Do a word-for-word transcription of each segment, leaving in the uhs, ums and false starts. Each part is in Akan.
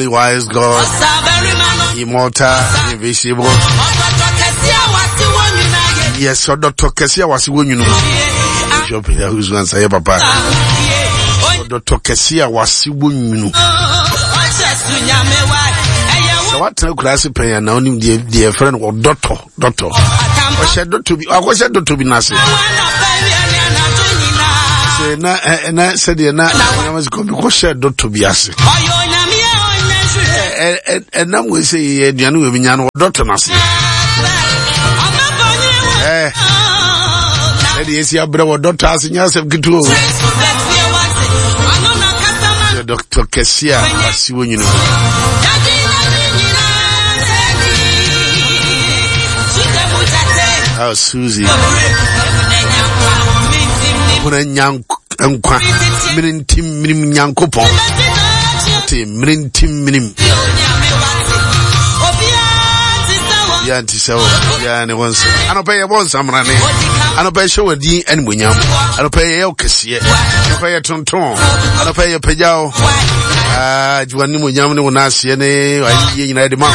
Only wise God, immortal, invisible. Yes, ɔdɔtɔ kɛse a wase wɔ nwunu. Bishop Yahuzu ansa yɛ papa. Ɔdɔtɔ kɛse a wase wɔ nwunu. Sɛ watena kura ase pɛn a na onim deɛ deɛ ɛfrɛ no ɔdɔtɔ dɔtɔ. Ɔhyɛ dɔtɔ bi akɔhyɛ dɔtɔ bi n'ase. Sɛ na ɛ na sɛdeɛ na nyama sɛ kɔbi kɔhyɛ dɔtɔ bi ase. Ɛ ɛ ɛnam wei sɛ yɛ aduane wɔ bi nya no ɔdɔtɔ n'ase. Ɛ ɛde esi abrɛ wɔ dɔtɔ ase nyɛ asɛm ketewa o. Yɛ dɔtɔ kɛse a wase wɔ nyina. Oh, Susie. Huna nkwa mene ntim minim Nyankopɔn. Te mene ntim minim. Bia nti sɛ wo bia ne wo nsa. Anɔpɛ yɛ bɔ nsamrane. Anɔpɛ hyɛ wɔ din animonyam. Anɔpɛ yɛ yɛ kɛseɛ. Anɔpɛ yɛ tonton. Anɔpɛ yɛ pagya wo. Ah, gye w'animonyam ne wo n'aseɛ ne ayiyie nyinaa de ma wo.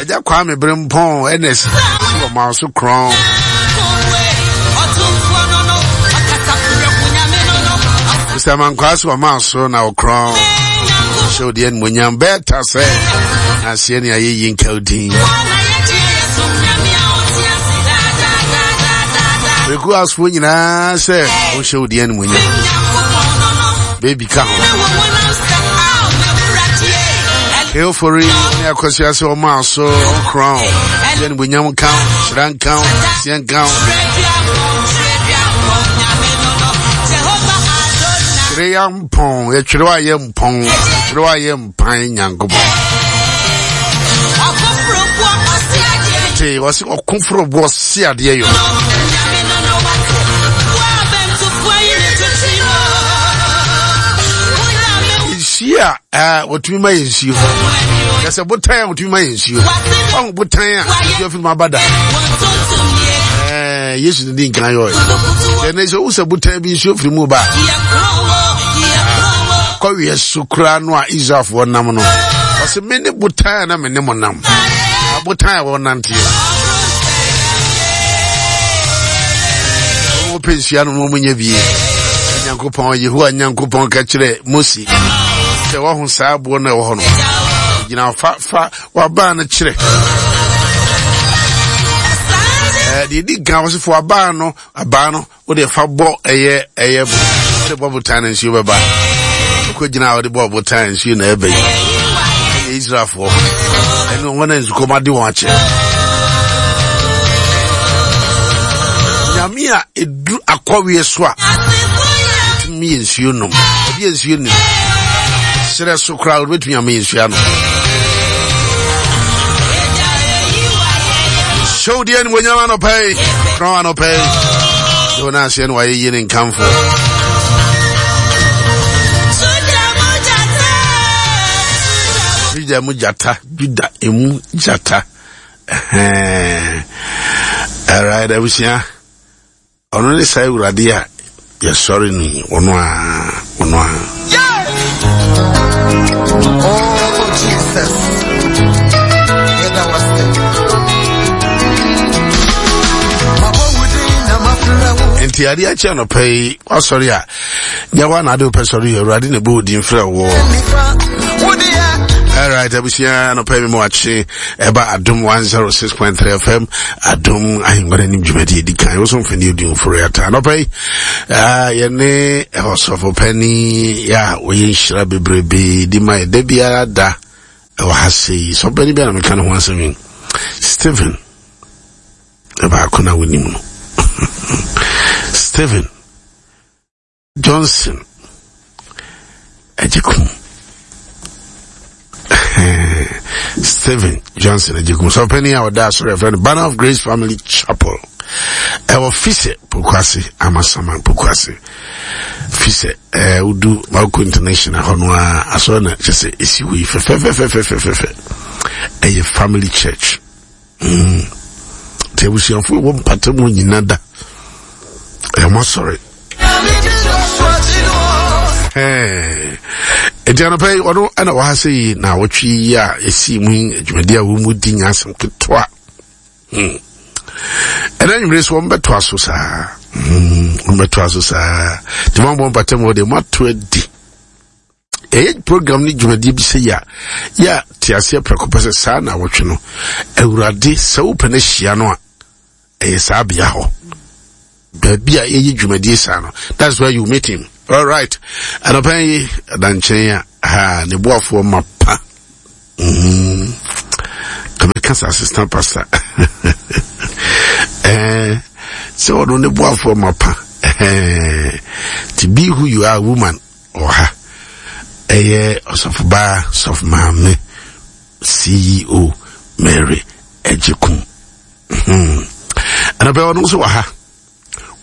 Agya Kwame Berempɔn Ernest wɔ ma so korɔn. Mister Mankwaa so wɔ ma so na ɔkorɔn. Hyɛ wo deɛ animonyam bɛɛta sɛ n'aseɛ ne ayɛyie nka wo din. Reku asofoɔ nyinaa sɛ wonhyɛ wo deɛ animonyam. Baby ka ho. Eofori ne akɔsi ase ɔma so ɔkorɔn. Deɛ animonyam nka ho, hyira nka ho, aseɛ nka ho. Twerɛ ya mpɔn, yɛtwerɛ wa yɛ mpɔn, twerɛ wa yɛ mpan Nyankopɔn. Te wɔsi ɔkoforo boɔ si adeɛ yɔ. Nsuo a ɛɛ wɔtumi ma yɛ nsuo. Yɛsɛ botan a wɔtumi ma yɛ nsuo. Ɔho botan a nsuo afiri mu aba da. Ɛɛ Yesu ne di nkan yɔ yɛ. Ɛnɛ sɛ wosɛ botan bi nsuo firi mu ba. Kɔwiɛ so koraa no a Israelfoɔ nam no. Ɔsɛ me ne botan a na me ne mo nam. Botan a wɔnanteɛ. Wɔn pɛ nsuo ano na wɔn nyɛ bie. Nyankopɔn Yehowa Nyankopɔn ka kyerɛ Mose sɛ wɔho saa aboɔ no a ɛwɔ hɔ no. Gyina fa fa wabaa no kyerɛ. Ɛɛ deɛ di kan wɔsi fo abaa no abaa no wode fa bɔ ɛyɛ ɛyɛ wode bɔ botan no nsuo bɛba. Ɔkɔ gyina a wɔde bɔ botan nsuo na ɛbɛ yi. Ɛyɛ Israelfoɔ ɛne wɔn a nsukɔm ade wɔn akyɛ. Nyame a eduru akɔweɛ so a tumi yɛ nsuo nom. Ɛbi yɛ nsuo nim. Serɛ so koraa wɔbɛtumi ama yɛ nsuo anom. Hyɛ wo deɛ animuonyam anɔpa yi. Korɔn anɔpa yi. Sɛ wo n'aseɛ no wayɛ yie ne nkamfo. Juda mu gyata, Juda emu gyata. Alright, abusua. Ɔno ne saa Awurade a yɛsɔre no yi, ɔno a, ɔno a. Oh, Jesus. Yɛda wo ase. Mabɔ wo din na mafrɛ wo. Nti adeɛ akyi anɔpa yi, wasɔre a, nyɛ wa na ade wopɛ sɔre yɛ, Awurade na ɛbɔ wo din frɛ wɔ. Nifa, wo deɛ. Alright, abusua anɔpa yi mi mu akye ɛba Adom one zero six point three F M Adom ahengua n'anim dwumadi edi kan. Woso mfani odi mforo yata anɔpa yi. Ah, yɛne ɔsɔfo panyin ya ɔyɛ nhyira bebrebe di ma yɛ da biara da ɛwɔ ha sei. Sɔfo panyin bi a na meka ne ho asɛm yi. Stephen ɛbaako na wonim no. Stephen Johnson Agyekum. Stephen Johnson Agyekum. Sɔfo panyin a ɔda asɔre ɛfrɛ no Banner of Grace Family Chapel. Ɛwɔ Fisɛ Pokuase, Amasaman Pokuase. Fisɛ ɛɛ Udu Bawku International hɔ no a asɔre na kyerɛ sɛ esi hɔ yi fɛfɛfɛfɛfɛfɛ. Ɛyɛ family church. Mm. Nti abusuafo ɛwɔ mpata mu nyina da. Ɛyɛ mo asɔre. Ɛɛ. Enti anɔpa yi ɔno ɛna wɔ ha sɛ yi na awɔtwe yi a ɛsii mu yi adwumadi a wɔn mu di nya asɛm ketewa. Hmm. Ɛna nwumere so wɔn bɛtoa so saa. Hmm. Wɔn bɛtoa so saa. Nti wɔn abɔ mpatam wɔ deɛ moato adi. Ɛyɛ program ne dwumadie bi sɛ yi a yɛ a te aseɛ prɛko pɛ sɛ saa na awɔtwe no Awurade sɛ wopɛ no ahyia no a ɛyɛ saa bea hɔ. Baabi a yɛyɛ dwumadie saa no, that's where you meet him. All right. Anɔpa yi adankyɛn a ha ne boafoɔ ma pa. Mm. Kameka sɛ assistant pastor. Eh, sɛ ɔno ne boafoɔ ma pa. Eh, to be who you are, woman, ɔha. Ɛyɛ ɔsɔfobaa, sɔfo maame, C E O Mary Ejikum. Hmm. Anɔpa ɔno nso wɔ ha.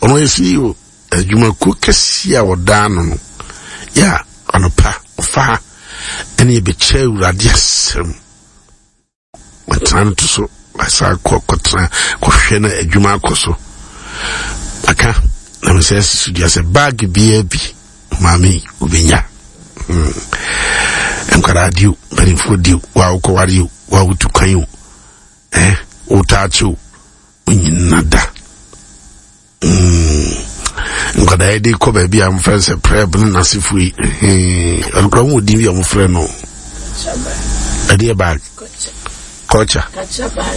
Ɔno yɛ C E O adwumakuo kɛseɛ a ɔda ano no. Yɛ a anɔpa ɔfa ha ɛne yɛbɛkyɛ Awurade asɛm. Ɔtena no to so asa kɔ kɔtena kɔhwɛ na adwuma akɔ so. Aka na mesɛ asi so dua sɛ baage biara bi maame obɛnya. Hmm. Nkwadaa di o, mpanimfoɔ di o, wa wokɔware o, wa wotu kwan o, eh, wotaakye o, wonyina da. Mm. Nkwadaa yi de kɔ baabi a wɔfrɛ no sɛ prɛb ne n'asefo yi. Ɔno koraa wɔn din bi a wɔfrɛ no. Ɛdeɛ bag. Culture.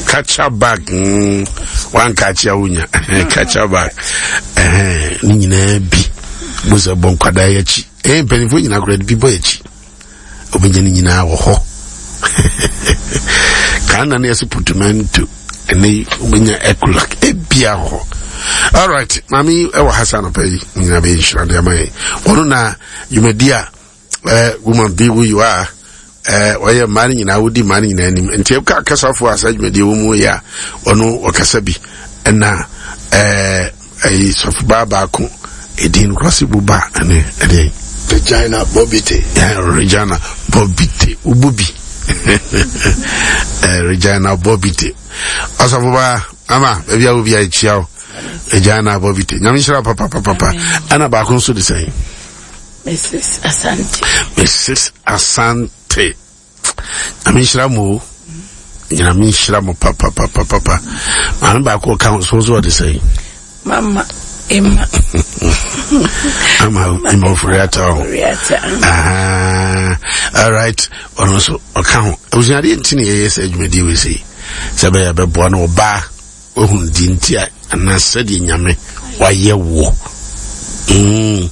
Kacha bag. Mm. Wanka akyi a wonya. Kacha bag. Ne nyinaa bi. Bo sɛ bɔ nkwadaa yi akyi. Eh, mpanimfoɔ nyinaa koraa de bi bɔ akyi. Obɛnya ne nyinaa wɔ hɔ. Kaa na ne yɛsɛ putumento. Ɛnɛ wobɛnya ekulak. Ebia hɔ. All right. Maame ɛwɔ ha sa anɔpa yi. Nyinaa bɛyɛ nhyira de ama yɛn. Wɔno na dwumadi a eh, woman be who you are. Eh, ɔyɛ mmaa no nyinaa wodi mmaa no nyinaa anim. Nti ɛka kasafoɔ a saa dwumadie wɔ mu yɛ a ɔno ɔkasa bi. Ɛna eh, ɛyi sɔfobaa baako edin no korɔ se buba ɛne ɛdeɛn. Regina Bobite. Yeah, Regina Bobite. Ububi. eh, Regina Bobite. Ɔsɔfobaa ama baabi a wobi a ekyia wo. Regina Bobite. Nyame nhyira papa papa papa. Ɛna baako nso de sɛn. Missus Asante. Missus Asante. Nyame nhyira mo. Nyame nhyira mo papa papa papa. Maame baako ɔka ho so so ɔde sɛn. Mama Emma. Mama Emma Oforiata. Oforiata. Ah, all right. Ɔno nso ɔka ho. Abusuadeɛ nti na yɛyɛ sɛ adwumadie wei sei. Sɛ bɛyɛ bɛboa no ɔbaa ohun di nti a anaa sɛdeɛ Nyame wayɛ wo. Mm.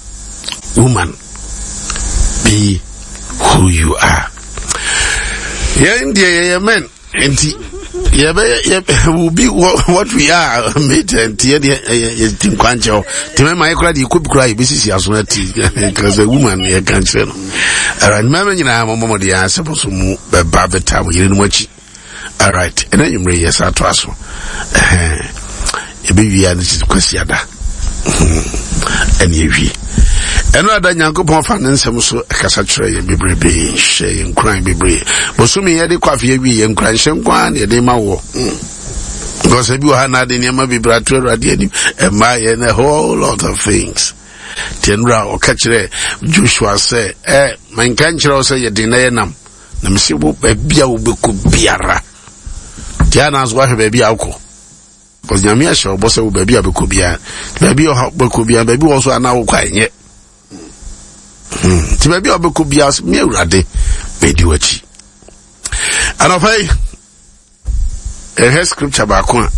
Woman, be who you are. Yɛn deɛ yɛyɛ men nti yɛbɛyɛ yɛ will be what, what we are mate nti yɛ deɛ yɛ yɛ ti nkwankyɛw nti mɛma yɛ kora deɛ kɔ bi kora yɛbɛsisi aso ati kasa woman yɛ ka kyerɛ no. Alright, mɛma nyinaa mo mmɔmɔ deɛ asɛm so mu bɛba bɛta mo yere no mu akyi. Alright, ɛna nwumere yɛ saa to aso. Yɛbɛwie a ne kyerɛ kwasi ada. Ɛne yɛwie. Ɛno ada Nyankopɔn fa ne nsɛm so ɛkasa kyerɛ yɛn bebrebe, hyɛ yɛn nkuran bebree. Bosome yɛde kɔ afe yɛwie yɛn nkuran hyɛ nko ara na yɛde ma wɔ. Because ebi wɔ ha na ade nneɛma bebree ato Awurade anim. Ɛmma yɛn a whole lot of things. Tiɛnura ɔka kyerɛ Joshua sɛ, ɛ, manka nkyerɛ wo sɛ yɛde na yɛnam. Na mese wo baabi a wobɛkɔ biara. Tia na nso wahwɛ baabi a wokɔ. Because Nyame ahyɛ ɔbɔ sɛ wo baabi a wobɛkɔ biara. Baabi a wobɛkɔ biara, baabi wɔ so a na wokɔ anyɛ. Hmm. Ti baabi a wobɛkɔ biara, me Awurade, medi w'akyi. Anɔpa yi, ɛhwɛ scripture baako a,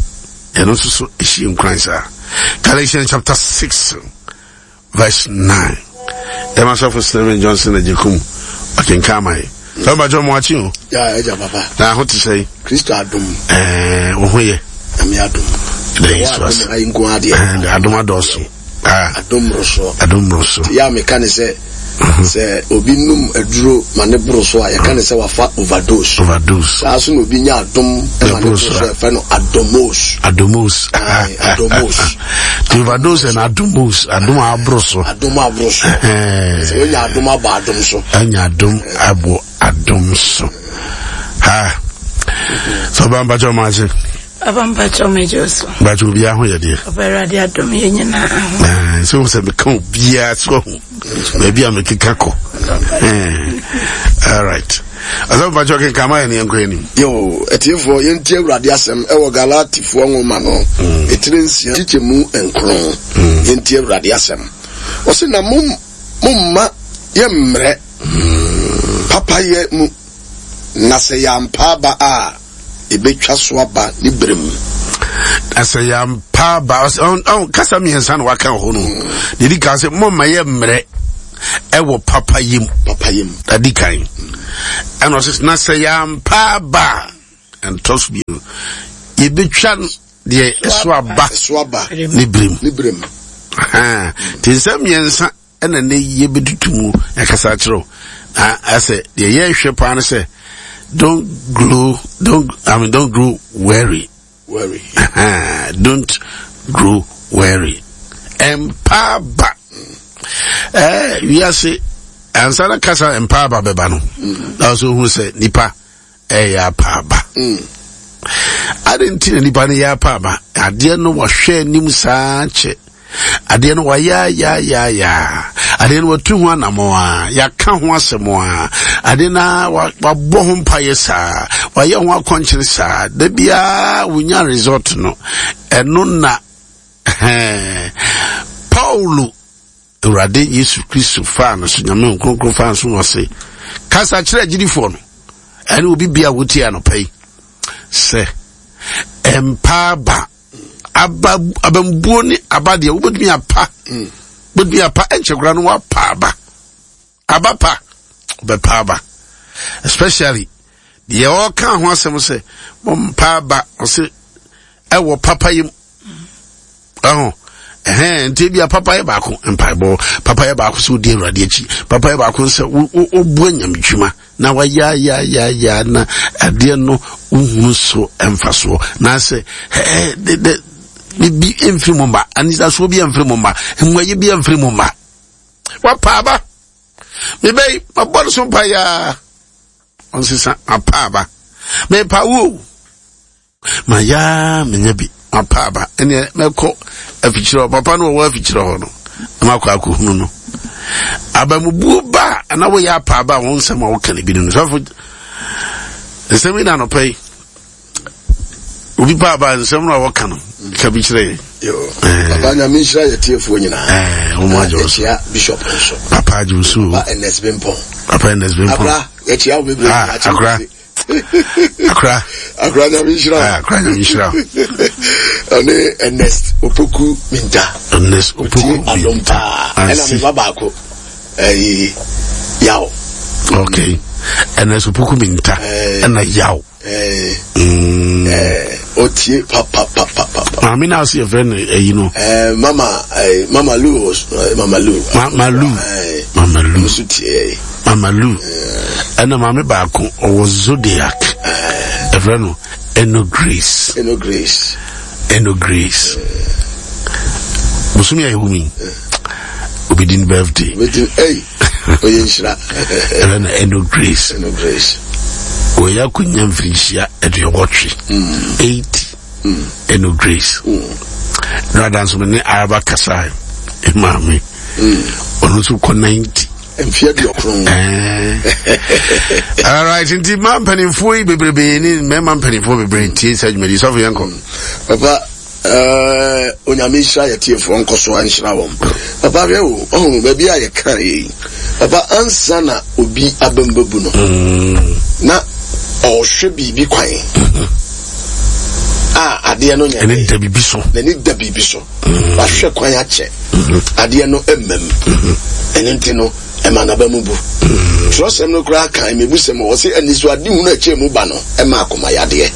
ɛno nso so ɛhyie nkuran saa. Galatians chapter six, verse nine. Emma Sɔfo Stephen Johnson Ajikum, ɔkenkan ama yɛ. Sɛ ɔba jɔ mo akyi o. Ya ɛgya papa. Na ho te sɛ. Kristo adom. Ɛɛ, wo ho yɛ. Nyame adom. Ɛdɛ Yesu ase. Adom ayi nko adeɛ. Ɛɛ, adom adɔɔso. Ah. Adom mmorosoɔ. Adom mmoroso. Ya meka ne sɛ, sɛ obi num aduro ma ne boro so a, yɛka ne sɛ wafa overdose. Overdose. Saa so na obi nya adom ma ne boro so a, yɛfrɛ no adomos. Adomos. Aye, adomos. The overdose and adomos. Adom aboro so. Adom aboro so. Sɛ wonya adom abɔ adom so. Anya adom abɔ adom so. Ha. Sɛ ɔba mpakyɛ ɔmo ase. Papa mpakyɛ ɔmo agye so. Mpakyɛ obiara ho yɛ deɛ. Papa Awurade adom yɛ nyinaa ho. Ɛɛ, sɛ wo sɛ meka obiara so ahu. Baabi a mekeka kɔ. Ɛɛ, All right. Asɛm mpakyɛ kenkan ma yɛ ne yɛnkɔ anim. Yo, atiefoɔ, yɛntie Awurade asɛm ɛwɔ Galatifoɔ nwoma no ɛtire nsia kyekyɛmu nkron. Yɛntie Awurade asɛm. Ɔse na mom momma yɛmmerɛ papayɛ mu, na sɛ yɛampa aba a, ɛbɛtwa so aba ne berɛ mu. Na sɛ yɛampa aba, ɔsɛ ɔn kasa mmiɛnsa na waka wɔ hɔ no. Deɛ di kan sɛ momma yɛmmerɛ ɛwɔ papayɛ mu. Papayɛ mu. Adi kan. Ɛna ɔsɛ na sɛ yɛampa aba a, ɛntɔ so bio. Yɛbɛtwa deɛ ɛso aba Ɛso aba ne berɛ mu. ne berɛ mu. Nti nsɛm mmiɛnsa ɛna ne yɛbɛtutu mu ɛkasa akyerɛ wo. Na ɛsɛ deɛ yɛrehwɛ paa no sɛ don't grow don't I mean don't grow weary. Worry. Don't grow weary. Ɛmpa aba. Ɛɛ wiase ansa na kasa mpa aba bɛba no. Na ɔsɛ ohun sɛ nipa ɛyɛ apa aba. Ade nti na nipa no yɛ apa aba. Adeɛ no wɔhwɛ anim saa kyɛ. Adeɛ no wɔayaayaayaayaa. Adeɛ no wɔatu ho anammɔn a, yɛaka ho asɛm a, adeɛ no a wabɔ ho mpayɛ saa, wayɛ ho akɔnkyere saa, da biara wonya result no. Ɛno na Paulo Awurade Yesu Kristo faa no so, Nyame Nkronkron faa no so wɔ se, kasa kyerɛ agyidifoɔ no, ɛne obi bia wotie anɔpa yi, sɛ ɛmpa aba, aba abambuo ne aba deɛ wobɛtumi apa, wobɛtumi apa, ɛnkyɛ koraa no woapa aba, aba pa, wobɛpa aba, especially deɛ ɔka ho asɛm sɛ mompa aba, ɔse ɛwɔ papa yi mu. Ɛho ɛhɛn nti ebi a papa yɛ baako mpaebɔ, papa yɛ baako sɛ wodi Awurade akyi, papa yɛ baako sɛ wobu anyamdwuma na wayayayaya na adeɛ no wohunu so mfasoɔ na sɛ ɛɛ de de bibi mfiri mu mma, anidasoɔ bi mfiri mu mma, mmuayɛ bi mfiri mu mma. Wapa aba, mebɛyi mabɔ no so mpaeɛ ɔnsesa mapa aba, mepa wo ma yaa menya bi mapa aba, ɛneɛ mɛkɔ afikyerɛ hɔ, papa no wɔwɔ afikyerɛ hɔ no na makɔ akɔhunu no. Abamubuo ba a na woyɛ apa aba a wo nsɛm a woka no bi no no sɔfo nsɛm yi na anɔpa yi obi pa aba nsɛm no a wɔka no ka bi kyerɛ yɛn. Yo, papa Nyame nhyira yɛ tiefoɔ nyinaa. Ɛɛ, wɔn agye wo so. Yɛkyia Bishop nso. Papa agye wo so. Papa Ernest Bimpong. Papa Ernest Bimpong. Akora, yɛkyia wo bebree. Ah, akora. Akora. Akora Nyame nhyira wo. Ah, akora Nyame nhyira wo. Ɔne Ernest Opoku Minta. Ernest Opoku Otie adom paa. Ɛna me ba baako. Ɛyi, Yaw. Okay. Ernest Opoku Minta. Ɛna Yaw. Ɛɛ, Mm. ɛɛ, otie papa papa papa. Maame na ase yɛfrɛ no ɛyi no. Ɛɛ, mama, ɛɛ, Mama Lu, ɛɛ, Mama Lu. Ma Malu. Ɛɛ, Mama Lu. nso tie. Mama Lu. Ɛna maame baako ɔwɔ Zodiac. Ɛfrɛ no Eno Grace. Eno Grace. Eno Grace. Bosomi a ɛwɔ mu yi, obi di ne birthday. Obi di, ɛy, oyɛ nhyira. Ɛfrɛ no Eno Grace. Eno Grace. Wɔyɛ akɔnya mfirinhyia aduɔwɔtwe. Eighty. Eno Grace. Na adanso me ne Araba kasa maame. Ɔno nso kɔ ninety. Mfeɛ aduɔkron. All right, nti mmaa mpanimfoɔ yi bebrebe ne mmarima mpanimfoɔ bebree tie saa dwumadi sɔfo yɛn kɔ. Papa, ɛɛ, Onyame nhyira yɛ tiefoɔ nkɔ so nhyira wɔn. Papa hwɛ o, ɔho baabi a yɛka yɛ yi. Papa ansa na obi abɛmbabu no. Na ɔhwɛ biribi kwan. A adeɛ no nyɛ. Ɛne da biribi so. N'ani da biribi so. Wahwɛ kwan akyɛ. Adeɛ no mmam. Ɛno nti no, ɛma n'aba mu bu. Twerɛsɛm no koraa kan mebusɛm wɔ sɛ anisoade hunu akyɛ mu ba no ɛma akoma yadeɛ.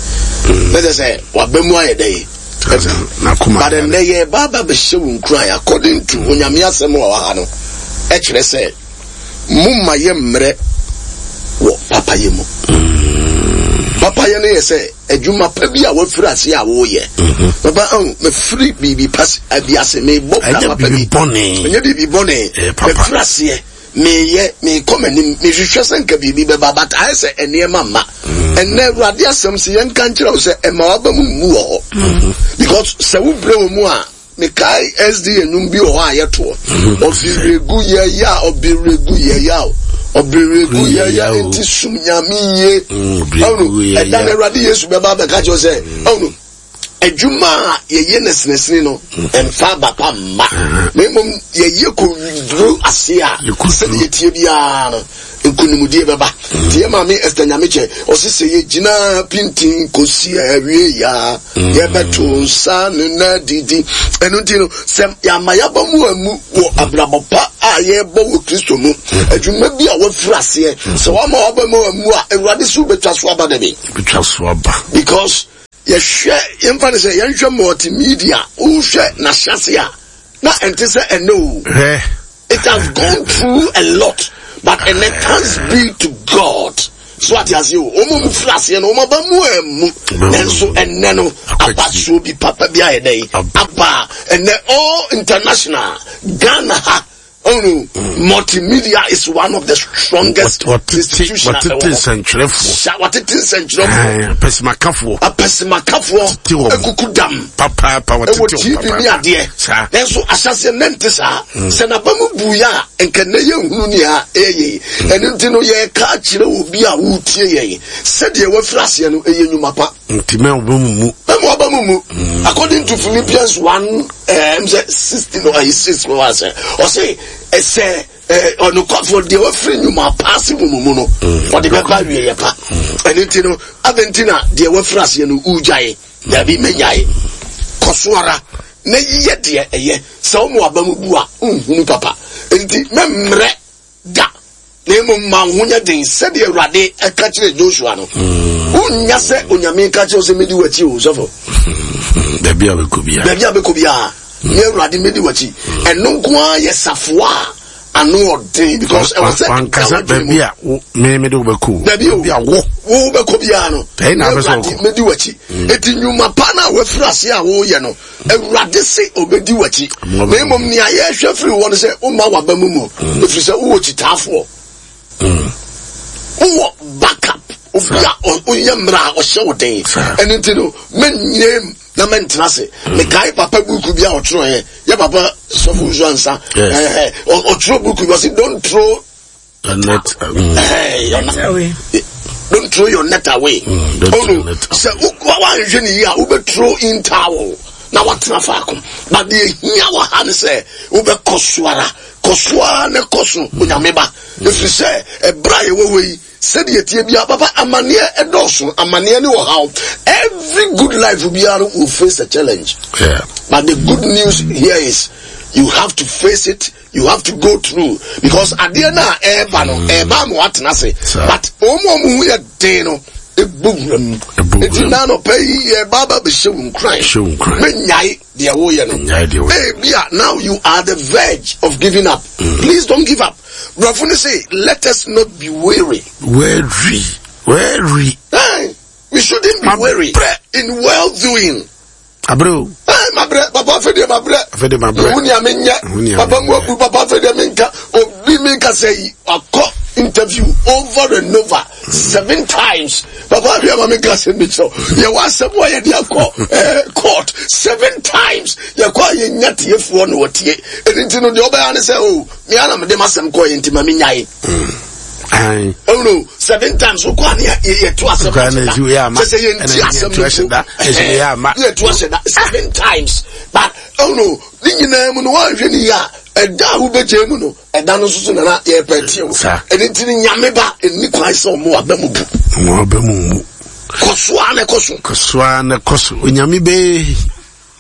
Na kyerɛ sɛ waba mu ayɛ dɛn? But ɛnnɛ yɛ ba ba bɛhyɛ wo nkuran according to Onyame asɛm wɔ ha no ɛkyerɛ sɛ momma yɛ mmerɛ wɔ papayɛ mu. Papayɛ no yɛ sɛ adwuma pa bi a wafiri ase a woyɛ. Papa ɔn mafiri biribi pa bi ase mebɔ bra papa bi. Ɛnyɛ biribi bɔne. Mafiri aseɛ meyɛ mekɔ m'anim mehwehwɛ sɛ nka biribi bɛba but ayɛ sɛ nneɛma mma. Ɛnnɛ Awurade asɛm sɛ yɛnka nkyerɛ wo sɛ ɛma waba mu mmu wɔ hɔ. Because sɛ wobrɛ wɔ mu a mekae S D A nnwom bi wɔ hɔ a yɛtoɔ. Ɔbiregu yɛ ya, ɔbiregu yɛ ya o. Ɔbrɛgu yɛ ya nti sum Nyame yie. Ɔno ɛda no Awurade Yesu bɛba abɛka kyerɛ sɛ ɔno adwuma a yɛyɛ no sinesine no ɛmfa aba pa mma, na mmom yɛyɛ kɔduru ase a, sɛdeɛ yɛtie biara no, nkonimdie bɛba. Nti yɛ maame Esther Nyamekyɛ ɔse sɛ yɛgyina pintin kɔsi awie ya, yɛbɛto nsa no na didi. Ɛno nti no, sɛ yɛama yɛaba mu amu wɔ abrabɔ pa a yɛbɔ wɔ Kristo mu, adwuma bi a wafiri aseɛ, sɛ woama waba mu amu a, Awurade so wobɛtwa so aba da bi. Bɛtwa so aba. Because yɛhwɛ, yɛmfa no sɛ yɛnhwɛ multimedia, wohwɛ n'ahyɛse a na ɛnte sɛ ɛnɛ o. Hwɛ. It has gone through a lot, but ɛnɛ, thanks be to God. So ate aseɛ o, wɔn mu firi aseɛ no, wɔn aba mu amu, nanso ɛnɛ no abasoɔ bi papa bi ayɛ dɛ aba. Ɛnɛ all international, Ghana ha ɔno, multimedia is one of the strongest institutions. Wɔtete nsɛntwerɛfoɔ. Wɔtete nsɛntwerɛfoɔ. Apɛsimakafoɔ. Apɛsimakafoɔ. Tete wɔn. Ekuku dam. Papaapa, wɔtete ɛwɔ wɔn. T V ne adeɛ. Saa. Nanso ahyɛseɛ ne nte saa. Sɛ n'aba mu bu yɛ a, nka ne yɛ nhunu nea ɛyɛ yie. Ɛno nti no, yɛka akyerɛ obi a wotie yɛn sɛdeɛ wafiri aseɛ no, ɛyɛ nnwuma pa. Nti mɛ wɔn mu mu. Mɛmu aba mu mu. According to Philippians one ɛɛm sɛ sixteen or six wɔ wa sɛ ɔsɛ ɛsɛ ɛɛ ɔnokwafoɔ deɛ wafiri nnwuma pa ase mu mu mu no, ɔde bɛba awie yɛ pa. Ɛno nti no, adɛn nti na deɛ wafiri aseɛ no wugyae? Dabi, menyae. Kɔ so ara na yiyɛ deɛ ɛyɛ. Sɛ wɔn aba mu bu a, nhunu papa nti mɛmmerɛ da, na mmom ma wo ho nyɛ den sɛdeɛ Awurade ɛka kyerɛ Joshua no. Wonnya sɛ Onyame ka kyerɛ wo sɛ mɛdi w'akyi o, sɔfo. Baabi a bɛkɔ biara. Baabi a bɛkɔ biara ne Awurade mɛdi w'akyi, ɛno nko ara yɛ safoa a ano ɔden, because ɛwɔ sɛ wankasa ɛda w'adwene mu. Baabi a wo me me de wo bɛkɔ o. Dabi o. Baabi a wo wo bɛkɔ biara no, Ɛyi na apɛ sɛ Awurade wokɔ. mɛdi w'akyi. Eti nnwuma pa no a wafiri ase a woyɛ no, Awurade se obɛdi w'akyi. Mo Na mmom nea yɛhwɛ firi hɔ no sɛ woma waba mu mu, ɛfiri sɛ wowɔ kyitaafoɔ, wowɔ backup, obi a ɔ- woyɛ mmerɛ a ɔhyɛ wo den. Saa. Ɛno nti no, menyɛ na mɛntena ase. Mekae papa buku bi a ɔtwerɛeɛ, yɛ papa sɔfo nso ansa. Yes. Ɛhɛ, ɔ- ɔtwerɛ buku bi, ɔse don't throw The net. Mm. ɛhɛ, your net Away. Don't throw your net away. Mm, don't Oh, throw no. your net away. Sɛ wo- woanhwɛ ne yie a, wobɛthrow in towel na woatena faako, but deɛ hia wɔ ha ne sɛ wobɛkɔ so ara, kɔ so ara ne kɔ so, Onyame ba, ɛfiri sɛ ɛberɛ a yɛwɔ hɔ yi, sɛdeɛ tie biara, papa, amanneɛ ɛdɔɔso, amanneɛ ne ɔhaw. Every good life biara no will face a challenge. Yeah. But the good news here is you have to face it, you have to go through, because adeɛ no a ɛreba no, ɛreba ama watena ase. Saa. But wɔn a wɔn ho yɛ den no ebu wura mu. Ebu Eti wura mu. na anɔpɛ yi yɛ ba ba bɛhyɛ wo nkuran. Hyɛ wo nkuran. Menyae deɛ woyɛ no. Menyae deɛ woyɛ. Ebia now you are the verge of giving up. Please don't give up. Brɔfo no say let us not be weary. Weary. Weary. Hey, we shouldn't be Mabrɛ. weary in well doing. Abrɛ o. Hey, mabrɛ papa, afei deɛ mabrɛ. Afei deɛ mabrɛ. Mehu nea menyɛ. Mehu nea Papa mu menyɛ. abu papa, afei deɛ menka obi menka sɛ yi akɔ interview over and over seven times. Papa, ahwɛ ma menka asɛm bi kyerɛw. Yɛwɔ asɛm a yɛde akɔ eh, court seven times. Yɛkɔ a, yɛnya tiefoɔ na wɔtie. Ɛno nti no, deɛ ɔbɛyɛ ne sɛ o mea na mede m'asɛm kɔɔ yɛ, nti ma menyae. Ayi. Oh no, seven times wokɔ a ne yɛ- yɛto asɛm Wokɔ a na ahyɛ da. ɛsi wei ama. Kyɛ sɛ yɛnti Ɛna asɛm yɛto no ahyɛ da. Ɛsi wei ama. yɛto ahyɛ da seven times. But oh no, ne nyinaa mu no, woanhwɛ ne yie a, ɛda a wobɛgyae mu no, ɛda no nso so nana yɛpɛ tie wo. Saa. Ɛno nti no, Nyame ba, ɛnni kwan sɛ ɔmo aba mu bu. Wɔn aba mu mu. Kɔ so a na ɛkɔ so. Kɔ so ara na kɔ so. Onyame bee.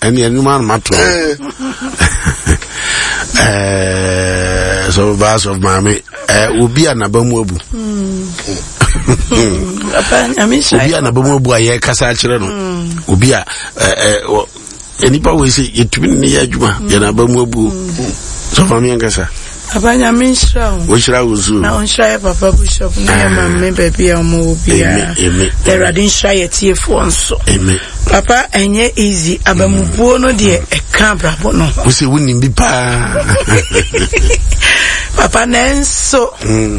Ɛne ɛnum ano ma to. Eh, Ɛɛ sɔfo baa, sɔfo maame, ɛɛ obi a n'aba mu abu. Papa, Nyame nhyira. Obi a n'aba mu abu a yɛrekasa akyerɛ no. Obi a ɛɛ ɛɛ wɔ nipa wo sɛ yɛtumi ne yɛ adwuma, yɛn aba mu abu. Sɔfo maame, yɛn kasa. Papa, Nyame nhyira wo. Wɔhyira wo so. Na ɔnhyira yɛ papa bishop ne yɛ maame baabi a ɔmo wɔ biara. Amen, amen. Na Awurade nhyira yɛ tiefoɔ nso. Amen. Papa, ɛnyɛ easy. Abamubuo no deɛ, ɛka abrabɔ no ho. Wo sɛ wonim bi paa. Papa, nanso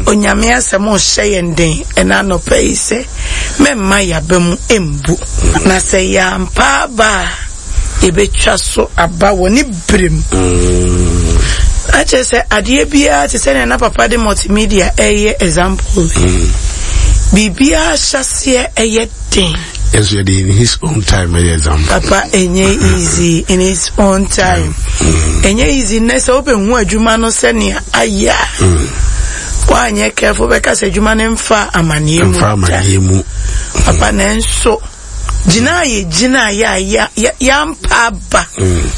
Onyame asɛm ɔhyɛ yɛn den ɛna anɔpa yi sɛ mɛmma yɛaba mu mbu, na sɛ yɛampa aba a, yɛbɛtwa so aba wɔ ne berɛ mu. Akyerɛ sɛ adeɛ biara te sɛ nea na papa de multimedia ɛyɛ example. Mm. Biribiara hyɛseɛ ɛyɛ den. Yes, we in his own time ɛyɛ example. Papa ɛnyɛ easy in his own time. Ɛnyɛ mm. easy nnɛ sɛ wobɛhu adwuma no sɛnea ayɛ a. Mm. Woanyɛ careful bɛka sɛ adwuma no mfa amanneɛ mu. Mfa amanneɛ mu. Papa nanso gyina a yɛgyina a yɛampa aba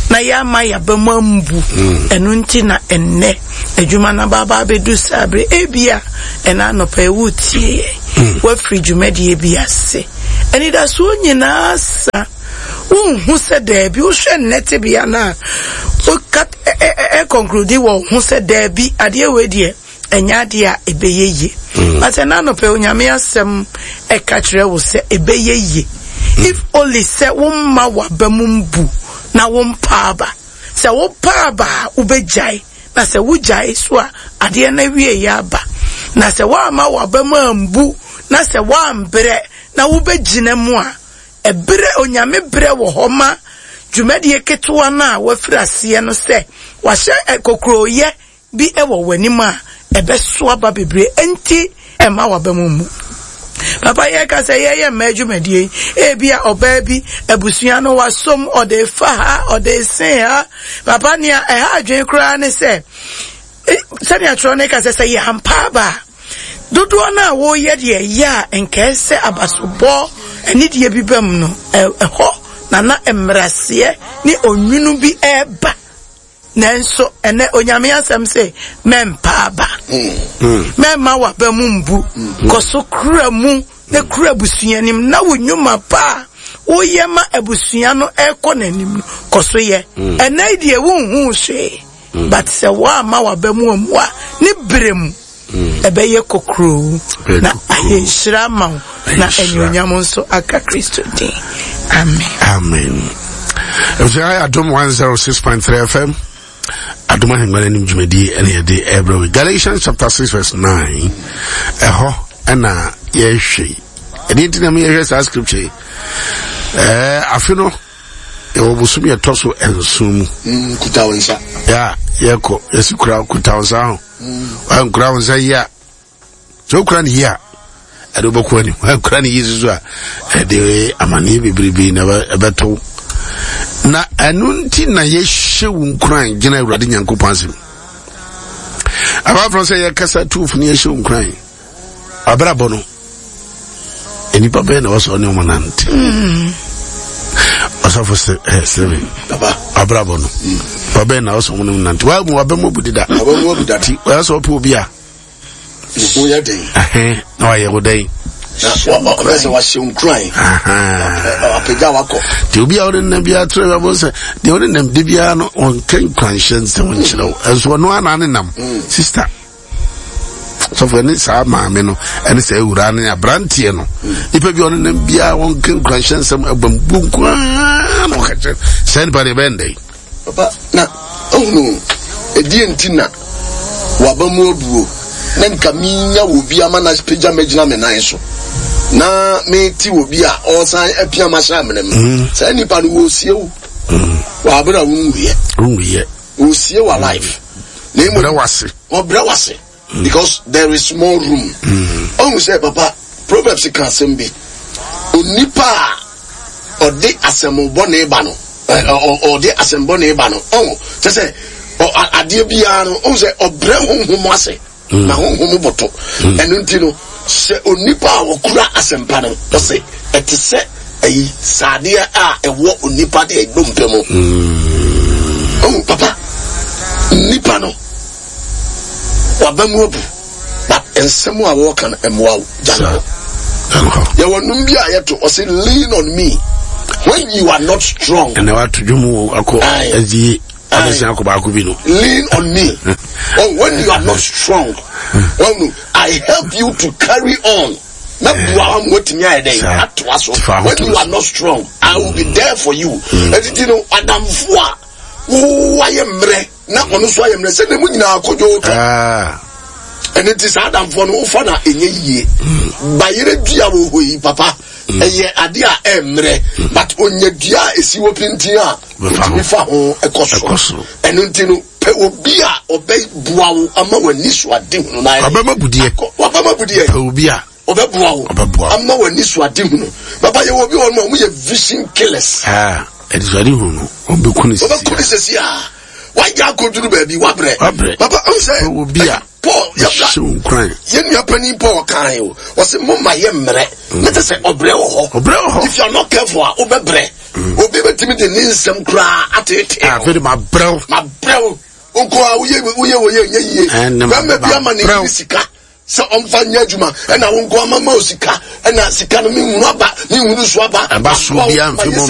na yɛama yɛaba mu ambu. Ɛno nti na ɛnnɛ adwuma no abaaba abɛdu saa bere. Ebia ɛna anɔpa ɛwo tie yɛn. Woafiri dwumadie bi ase. Anidasoɔ nyinaa sa. Wonhu sɛ daabi wohwɛ nnɛ tebea no a woka ɛkɔnkludi wɔ ho sɛ daabi adeɛ wei deɛ ɛnyɛ adeɛ a ɛbɛyɛ yie. But ɛna anɔpa Onyame asɛm ɛka kyerɛ wo sɛ ɛbɛyɛ yie. If only sɛ womma w'aba mu mbu na wompa aba. Sɛ wopa aba a wobɛgyae. Na sɛ wogyae so a adeɛ no awie yɛ aba. Na sɛ woamma w'aba mu ambu na sɛ woambrɛ na wobɛgyina mu a ɛberɛ Onyame berɛ wɔ hɔ ma dwumadie ketewa no a wafiri aseɛ no sɛ wahyɛ kokurooyɛ bi ɛwɔ w'anim a ɛbɛso aba bebree enti ɛma w'aba mu mu. Papa yɛka sɛ yɛyɛ mmaa dwumadie yi ebi a ɔbaa bi abusua no wasom ɔde fa ha ɔde sen ha. Papa nea ɛha adwene koraa ne sɛ sɛnea twerɛ no ka sɛ sɛ yɛampa aba a dodoɔ no a wɔyɛ deɛ ɛyɛ a nkɛɛ sɛ abasobɔ anidie bi ba mu no ɛhɔ na na mmaraseɛ ne onwunu bi ɛreba. Nanso ɛnɛ Onyame asɛm sɛ mɛmpa aba. Mɛmma w'aba mu mbu. Kɔ so kura mu na kura abusua anim na wo nnwuma pa a woyɛ ma abusua no ɛkɔ n'anim no kɔ so yɛ. Ɛnɛ deɛ wonhu hwee. But sɛ woamma w'aba mu ammu a ne berɛ mu ɛbɛyɛ kokuroo na ayɛ nhyira ama wo na anuonyam nso aka Kristo din. Amen. Amen. Ɛfisɛ Adom one oh six point three F M Adom ahengua n'anim dwumadie ɛna yɛde ɛbrɛ wo. Galatians chapter six verse nine ɛhɔ ɛna yɛhwɛ yi. Ɛdeɛ nti na yɛhwɛ saa scripture yi. Ɛɛ afe no yɛwɔ bosom yɛtɔ so nson mu. Mm, kuta wo nsa. Ya yɛkɔ yɛsi kura kuta wo nsa ho. Wankura wo nsa yi a sɛ wokura ne yi a ɛde wobɛkɔ anim. Wankura ne yi soso a ɛde amanneɛ bebrebe na ɛbɛto. Na ɛno nti na yɛhyɛ wo nkuran gyina Awurade Nyankopɔn asɛm. Abaafo sɛ yɛkasa tuufo ne yɛhyɛ wo nkuran. Abrabɔ no nnipa bɛyɛ na wɔsɔ ne ɔmo nante. Ɔsɔfo sɛ ɛ sɛbi abrabɔ no nipa bɛyɛ na wɔsɔ ɔmo ne nante. Waa mu wabɛ mu abu deda. Wabɛ mu abu dada. Ti wɔyɛ sɛ ɔpɛ obi a. Wo yɛ den. Ɛhɛn na wayɛ wo dɛn. Na ɔbɛ sɛ wahyɛ nkuran. Apagya wakɔ. Ti obi a ɔne nam biara tẹrɛ bi abɔ sɛ deɛ ɔne nam de biara no ɔnka nkuranhyɛ nsɛm nkyerɛ wo. Ɛnso ɔno ara na ne nam. Sista. Sɔfo ɛne saa maame no ɛne saa awura ne aberanteɛ no nipa bi ɔne nam biara wɔnka nkuranhyɛ nsɛm abambu nkoaa na ɔka kyerɛ saa nipa deɛ ɛbɛyɛ ndɛn. Papa na ɔhunu ɛdeɛ nti na waba mu abuo na nka menya wɔ bi ama na pagya magyina me nan so na mete wɔ bi a ɔsan apia mahyɛ amena mu. Saa nipa no wɔsie wo wɔabrɛ a wonwuyɛ wonwuyɛ wɔsie wa life na emu brɛ wase ɔbrɛ wase because there is more room. Ɔhu sɛ papa Proverbs ka asɛm bi onipa a ɔde asɛm bɔne ba no ɔde asɛm bɔne ba no ɔhu kyɛ sɛ adeɛ biara no ɔhu sɛ ɔbrɛ honhom ase na honhom bɔtɔ. Ɛno nti no sɛ onipa a ɔkura asɛmpa no ɔse ɛte sɛ ayi saadeɛ a ɛwɔ onipa de ɛdompe mu. Ɔhu papa nipa no waba mu abu but nsɛm a wɔka no mmoa wo gya no hɔ. Yɛwɔ nnum bi a yɛto ɔse lean on me when you are not strong. Ɛnna wato dwom akɔ ɛdi abɛsi akɔ baako bi no. Lean on me oh, when you are not strong. When I help you to carry on. Na bua wa mo timi ayɛ dɛ atoa so. When you are not strong, I will be there for you. Ɛtiti no adamfo a wo ayɛ mmerɛ na ɔno nso ayɛ mmerɛ sɛ ne mu nyinaa kodwo tɔ. Ɛno nti saa adamfoɔ no wofa na ɛnyɛ yie. Bayerɛ dua wɔ hɔ yi papa ɛyɛ ade a ɛmmerɛ but onya dua a esi wɔ pintin a otumi fa ho ɛkɔ soro. Ɛno nti no Pɛ obi a ɔbɛboa wo ama w'ani so ade hunu na ayɛ. Wabɛma budeɛ. Wabɛma budeɛ. Pɛ obi a ɔbɛboa wo. Ɔbɛboa wo. Ama w'ani so ade hunu. Papa, yɛwɔ obi wɔ hɔ nom a wɔyɛ vision killers. Ah, anisoade hunu no, wɔbɛku no sisi. Wɔbɛku no sisi a. Wagya akɔduru baabi, wabrɛ. Wabrɛ. Papa, ɔn sɛ. Pɛ obi a. Paul, yɛbra. Hyɛ wo nkuran. Yɛn nua panin Paul kan o. Ɔsɛ mo ma yɛ mmerɛ. Ne te sɛ ɔbrɛ wɔ hɔ. Ɔbrɛ wɔ hɔ. If you are not careful a, wobɛbrɛ. Obi bɛtumi de ne nsɛm koraa ateetee. Afei de ma brɛw. Ma brɛw. Nko a woyɛ woyɛ woyɛ nyɛ yie. Bɛrima bi ama ne yere sika sɛ ɔmfa nyɛ adwuma, ɛna wo nko ama ma o sika, ɛna sika no menhunu aba, menhunu so aba. Ɛba so biara mfe mu